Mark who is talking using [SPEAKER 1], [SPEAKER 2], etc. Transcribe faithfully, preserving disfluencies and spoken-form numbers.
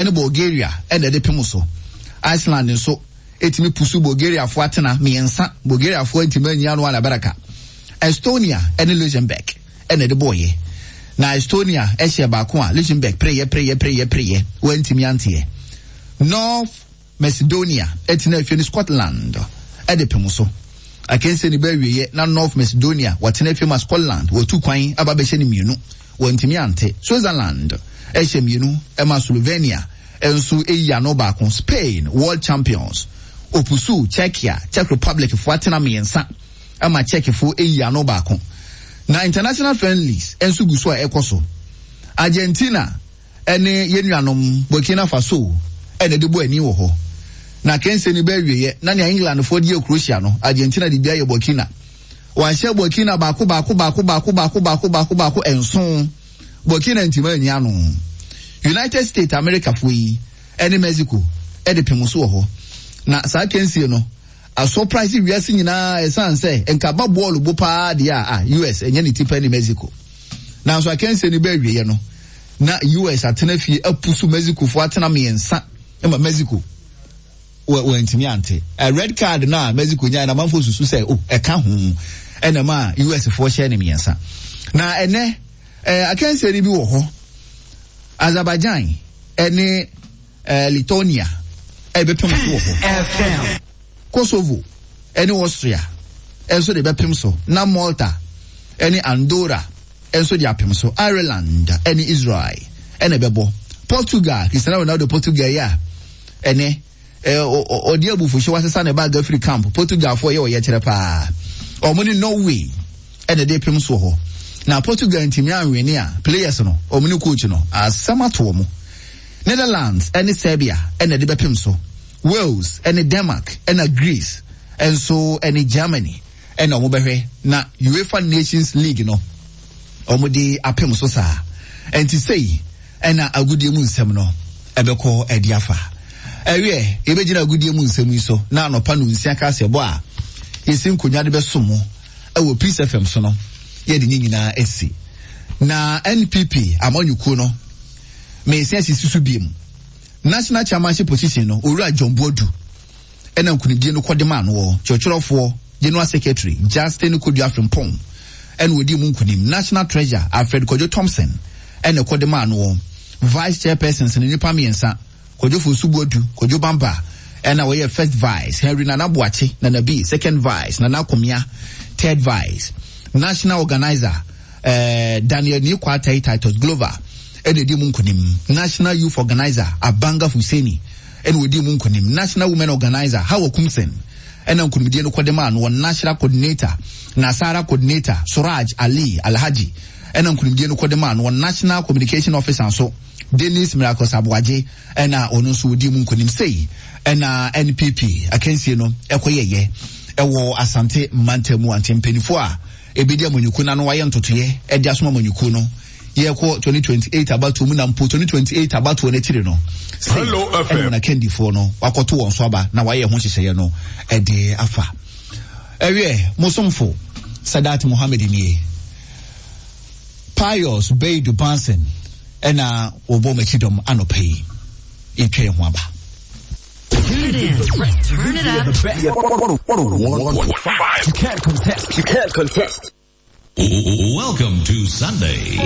[SPEAKER 1] ɛne Bulgaria ɛna ɛde pem so. Iceland nso ɛtumi pusu Bulgariafoɔ atena mmiɛnsa. Bulgariafoɔ ntumi anyi ano alabaraka. Estonia ɛne Luxembourg ɛna ɛde bɔɔyɛ. Na Estonia ɛhyɛ baako a Luxembourg preyɛ preyɛ preyɛ preyɛ wɔntumi anteɛ. North Macedonia ɛtena afie ne Scotland ɛde pem so. Akansie ne bɛawieɛ na North Macedonia wɔtena afie ma Scotland wɔtu kwan aba bɛhyɛ no mmienu, wɔntumi ante. Switzerland ɛhyɛ mmienu ɛma Slovenia nso ɛyi ano baako. Spain, world champions, opusu Czechia, Czech Republic foɔ atena mmiɛnsa ɛma Czechfoɔ ɛyi ano baako. Na international friendlies nso gu so a ɛkɔ so. Argentina ɛne yɛn nuanom Burkina Faso ɛna ɛde bɔ ani wɔ hɔ. Na kɛnse no bɛawieɛ na nea Englandfoɔ de yɛ Croatia no, Argentina de bi ayɛ Burkina. Wɔahyɛ Burkina baako baako baako baako baako baako baako baako nson. Burkina ntoma anyi ano. United States Americafoɔ yi ɛne Mexico ɛde pem so wɔ hɔ. Na saa kɛnsie no asurprise wiase nyinaa, ɛsan sɛ nkaba bɔɔlo bo paa deɛ a U S ɛnyɛ ne tipa ne Mexico. Nanso akansie no bɛawieɛ no na U S atena fie apusu Mexico foɔ atena mmiɛnsa ma Mexico wɔntumi ante. Red card na Mexico nyaa na amanfoɔ susu sɛ o ɛka ho ɛna ma U S foɔ hyɛ ne mmiɛnsa. Na ɛnɛ ɛɛ akansie no bi wɔ hɔ. Azerbaijan ɛne ɛɛ Lithuania ɛbɛpem so wɔ hɔ. Kosovo ɛne Austria ɛnso de bɛpem so, na Malta ɛne Andorra ɛnso de apem so. Ireland ɛne Israel ɛna ɛbɛbɔ. Portugal, Cristiano Ronaldo Portugal yi a ɛnɛ ɔde abufuhyɛ wasesa ne bag afiri camp. Portugal foɔ yɛ ɔyɛ kyerɛ paa. Ɔmo ne Norway ɛna ɛde pem so hɔ. Na Portugal ntumi anwene a, players no, ɔmo ne coach no, asɛm ato ɔmo. Netherlands ɛne Serbia ɛna ɛde bɛpem so. Wales ɛne Denmark, ɛna Greece ɛnso ɛne Germany ɛna ɔmo bɛhwɛ. Na UEFA Nations League no, ɔmo de apem so saa. Ɛnti sei ɛna agudie mu nsɛm no ɛbɛkɔ ɛde afa. Ɛwiɛ, yɛbɛgyina agudie mu nsɛm yi so na anɔpa no nsia kaseɛ bɔ a yɛsi nkonnwa de bɛso mo ɛwɔ Peace F M so no, yɛde ne nyinaa asi. Na N P P amanyɔkuo no mmeɛnsa asisi so biem. National chairmanship position no, Owura John Boadu ɛna nkunimdie no kɔde maa no wɔ. Kyerɛkyerɛfoɔ, general secretary Justin Kodua Frimpong ɛna odi mu nkunim. National treasurer Alfred Kwadwo Thompson ɛna ɛkɔde maa no wɔ. Vice chairpersons no, nipa mmiɛnsa: Kwadwo Fosu Boadu, Kwadwo Bamba ɛna wɔyɛ first vice, Henry Nana Boakye Nana B second vice, Nana Komia third vice. National organizer eh, Daniel Nikwatai Titus Glover ɛna edi mu nkunim. National youth organizer Abanga Hussaini ɛna odi mu nkunim. National women organizer Hawa Kumsen ɛna nkunimdie no kɔde maa no wɔ. National coordinator, Nasara coordinator Suraj Ali Alhaji ɛna nkunimdie no kɔde maa no wɔ. National communication officer nso, Dennis Miracles Aboagye, ɛna ɔno nso odi mu nkunim. Sei ɛna N P P akansie no ɛkɔyɛyɛ ɛwɔ Asante mantam. Ante mpanimfoɔ a ebedi amanyɔkuo n'ano wayɛ ntotoyɛ ɛde asom amanyɔkuo no, yɛkɔ twenty twenty-eight abatoɔ mu, na mpo twenty twenty-eight abatoɔ no akyiri no sei
[SPEAKER 2] Hello, F M.
[SPEAKER 1] Ɛna wɔn akandifoɔ no wakɔto wɔn so aba na wayɛ ho nhyehyɛeɛ no ɛde afa. Ɛwiɛ, mosomfo Sadat Mohammed nie. Pius Beidu Banson ɛna wɔbɔ m'akyi dɔm anɔpa yi. Yɛtwa yɛn ho aba.
[SPEAKER 3] Tune it in. Turn it up.
[SPEAKER 2] one point five. You can't contest. You can't contest.
[SPEAKER 4] Welcome to Sunday.